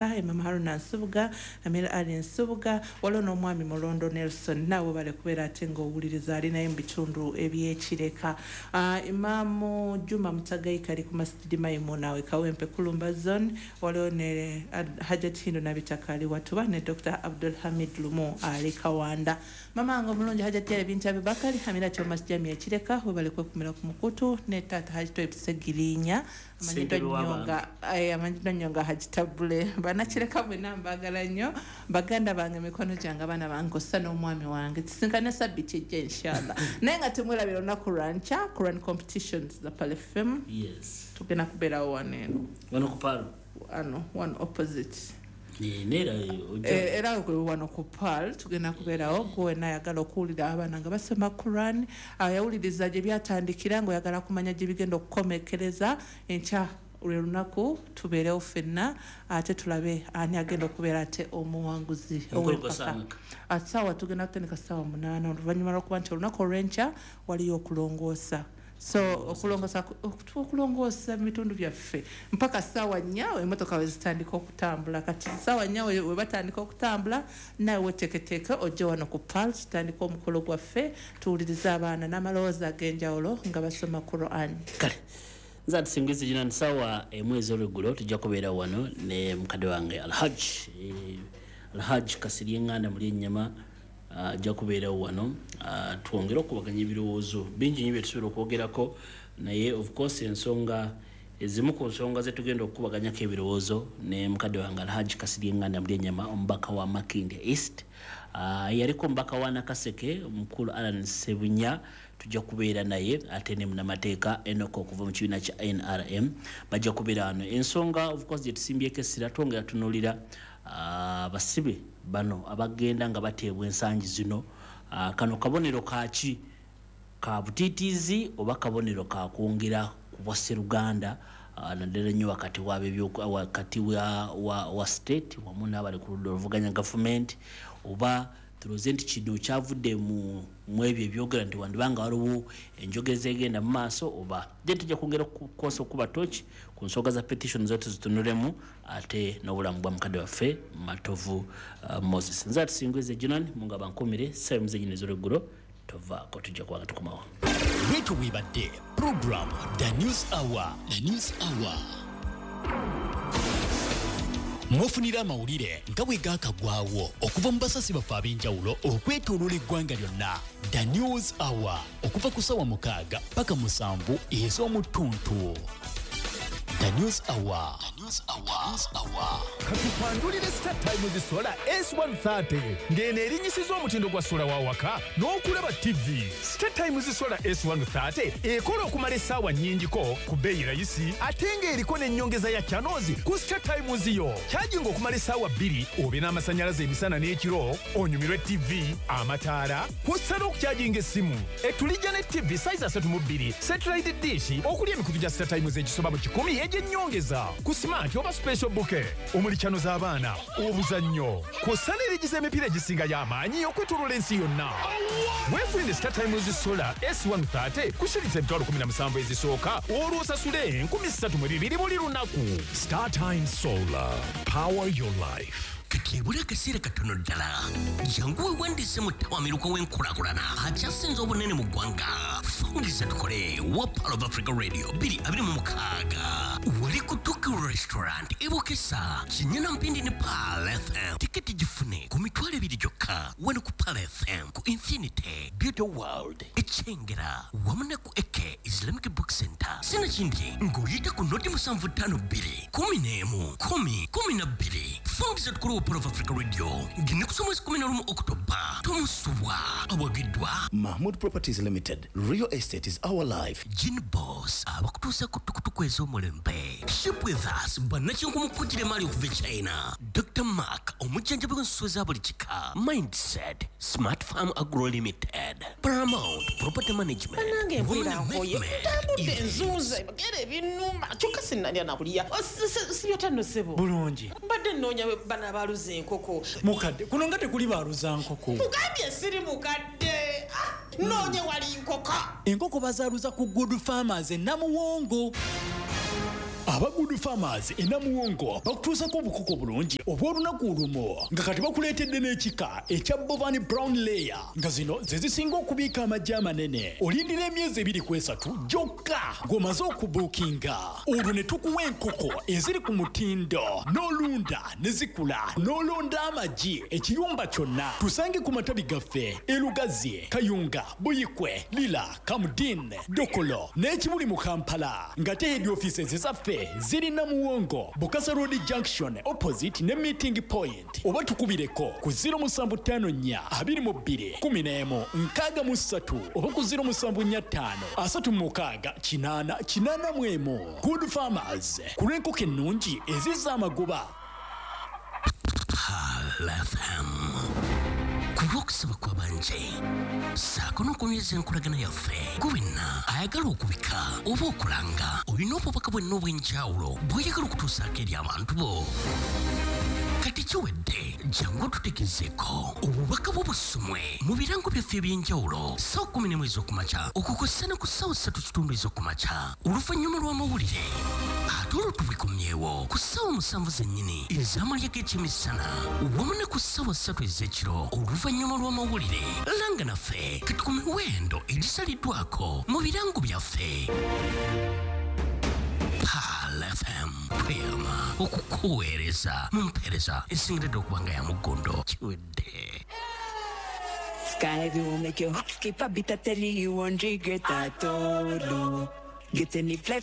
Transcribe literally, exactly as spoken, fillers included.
Imam Haruna Nsubuga, Amir Ali Nsubuga, waliwo n'omwami Mulondo Nelson, naawe bale kubeera ate ng'owuliriza ali naye mu bitundu ebyekireka. uh, Imaamu Juma Mutagaika ali ku Masjidi Maimuna we Kawempe Kulumba Zone, waliwo ne Hajat Hindo Nabitaka ali Watuba, ne Doctor Abdul Hamid Lumu ali Kawanda. Mama wange omulungi Hajat Yale Bintu Abubakari Hamira Thomas Jami ekireka, webale kwekumira ku mukutu, ne taata Haji Toib Segirinya amanyiddwa nnyo nga amanyiddwa nnyo nga Haji Tabule. Banakireka bwenna mbaagala nnyo, baganda bange, mikono gyange, abaana bange, ossa n'omwami wange. Tusinkane sabiti ejja inshallah, naye nga temwerabira olunaku lwankya Quran competitions za Pearl F M. Yes. Tugenda kubeerawo wano eno. Wano ku Pearl? Wano wano opposite. Neera. Eh, era wano ku Pearl tugenda kubeerawo. Gwe wenna ayagala okuwulira abaana nga basoma Quran, yawuliriza gye byatandikira, ng'oyagala kumanya gye bigenda okukomekereza, enkya lwe lunaku tubeerewo ffenna ate tulabe ani agenda okubeera ate omuwanguzi ow'empaka. Saawa tugenda kutandika ssaawa munaana, oluvannyuma lwokuba nti olunaku olw'enkya waliyo okulongoosa, so okulongoosa okulongoosa mu bitundu byaffe mpaka ssaawa nnya emotoka we zitandika okutambula. Kati ssaawa nnya we we batandika okutambula, naawe weteeketeeke ojje wano ku Pearl tutandika omukolo gwaffe, tuwulirize abaana n'amaloboozi ag'enjawulo nga basoma Quran. Kale nze atusingiza gina nti saawa emu ez'olweggulo tujja kubeera wano ne mukadde wange Alhaj eh, Alhaj Kasirye Eŋŋanda muli ennyama, ajja kubeerawo wano, ah, twongere okubaganya ebirowoozo bingi nnyo bye tusobola okwogerako. Naye of course ensonga ezimu ku nsonga zetugenda okukubaganyako ebirowoozo ne mukadde wange Alhaji Kasirye Eŋŋanda muli ennyama, omubaka wa Makindye East, uh, yaliko omubaka wa Nakaseke omukulu Alan Sebunya tujja kubeera naye, ate ne munamateeka Enoko okuva mu kibiina kya N R M bajja kubeera wano. Ensonga of course gye tusimbyeko essira, twongera tunuulira abasibe uh, bano abagenda nga bateebwa ensangi zino. uh, kano kabonero kaki ka butiitiizi oba kabonero kakwongera ku bwa sseruganda, uh, naddala nnyo wakati wakati wa, wa, wa state wamu n'abali ku ludda oluvuganya gavumenti, oba tulowooze nti kino kyavudde mu mu ebyo ebyogera nti wandibanga waliwo enjogeza egenda mu maaso oba je. Tujja kwongera okukosa okuba toki ku nsonga za petition zo tuzitunulemu, ate n'obulamu bwa mukadde waffe Matovu uh, Moses. Nze atusingwize Junan munga bankumire saawa muzenyini ez'olweggulo tovaako, tujja kubanga tukomawo. Bwetyo bwebadde program The News Hour. The News Hour mufunira amawulire nga bwe gaakagwawo okuva mu basasi baffe ab'enjawulo okwetooloola eggwanga lyonna. The News Hour okuva ku ssaawa mukaaga paka musanvu ez'omu ttuntu. The News Hour. The News Hour. News Hour. Katukwandulire Star Times Solar S one thirty, ng'eno erinyisiza omutindo gwa sola wa waka n'okulaba T V. Star Times Solar S one thirty ekola okumala essaawa nnyingiko ku bbeeyi rayisi, ate ng'eriko n'ennyongeza ya channels ku Star Times yo. Kyajinga okumala essaawa bbiri obe n'amasannyalaze emisana n'ekiro, onyumirwe T V, amataala, kw'ossa n'okukyajinga essimu. Etulijja ne T V size asatu mu bbiri, satellite dish okuli emikutu gya Star Times egisoba mu kikumi egy'ennyongeza ku smart oba special bouquet omuli channel z'abaana, obuzannyo, kw'ossa n'erigiza emipiira egisinga y'amaanyi okwetooloola ensi yonna. Weefunire Star Times Solar S one thirty ku shilingi emitwalo kumi na musanvu ezisooka, olwo osasule enkumi ssatu mu bibiri buli lunaku. Star Times Solar. Power your life. Kati ebula akaseera katono ddala, jangu weewandiise mu ttawamiruka w'enkulaakulana akyasinze obunene mu ggwanga, Fungiza Tukole wa Pearl of Africa Radio twenty twenty-six, wali ku Tokyo Restaurant ebukesa Kinyana Mpindi ne Pearl F M. Tiketi gifune ku mitwalo ebiri gyokka wano ku Pearl F M, ku Infinity Beauty World Ekyengera wamu ne ku Eke Islamic Book Center, sinakindi ng'oyita ku noti musanvu ttaano bbiri kumi n'emu kumi kumi na bbiri. Fungiza Tukole wa Pearl of Africa Radio ng'ennaku z'omwezi kumi na lumu Okutoba, tomusubwa. Awagiddwa Mahmood Properties Limited. Real estate is our life. Gin Boss abakutuusa ku tukutuku ez'omulembe, Ship With Us bannakyenkumukujira emaali okuva e China, Doctor Mark omujjanjabi w'ensuwa za buli kika, Mindset Smart Farm Agro Limited, Paramount Property Management. Nange mpulira Women nkoye. Movement, Ntambudde enzuuza ebagere ebinnuma, kyokka sinnalya nakulya. Sibyota ssebo. Bulungi. Mbadde nnoonya bano abaaluza enkoko. Mukadde, kuno nga tekuli baaluza nkoko. Mugambye siri mukadde. Ah, noonye wali nkoko. Enkoko bazaaluza ku Good Farmers e Namuwongo. Aba Good Farmers e Namuwongo bakutuusako obukoko bulungi obw'olunaku olumu, nga kati bakuleetedde n'ekika ekya Bovan Brown Layer, nga zino ze zisinga okubiika amagi amanene. Olindira emyezi ebiri ku esatu gyokka ng'omaze okubuukinga, olwo ne tukuwa enkoko eziri ku mutindo, n'olunda ne zikula, n'olonda amagi ekiyumba kyonna. Tusange ku matabi gaffe e Lugazi, Kayunga, Buyikwe, Lira, Kamudin, Dokolo n'ekibuli mu Kampala, nga te head offices zaffe ziri Namuwongo, Bukasa Road Junction opposite ne Meeting Point, oba tukubireko ku zero musanvu ttaano nnya abiri mu bbiri kkumi n'emu nkaaga mu ssatu oba ku zero musanvu nnya ttaano asatu mu mukaaga kinaana kinaana mu emu. Good Farmers, ku lw'enkoko ennungi ezizza amagoba. Pearl F M, ku lw'okusaba kw'abangi ssaako n'okunyweza enkolagana yaffe, gwe wenna ayagala okubika oba okulanga, olina obubaka bwenna obw'enjawulo bw'oyagala okutuusaako eri abantu bo, kati kiwedde. Jangu otutegezeeko obubaka bwo busomwe mu birango byaffe ebyenjawulo ssaawa kumi n'emu ez'okumakya okukossa ne ku ssaawa ssatu kitundu ez'okumakya oluvannyuma lw'amawulire, ate olwo tubikomyewo ku ssaawa musanvu zennyini ez'amalya g'ekyemisana wamu ne ku ssaawa ssatu ez'ekiro oluvannyuma lw'amawulire. Langa naffe kati ku miwendo egisaliddwako mu birango byaffe. Pearl F M, tweyama okukuweereza mu mpeereza esingiridde okuba nga ya muggondo. Kiwedde. Sky will make your heart skip a beat. I tell you, you won't regret at all. Get any fly.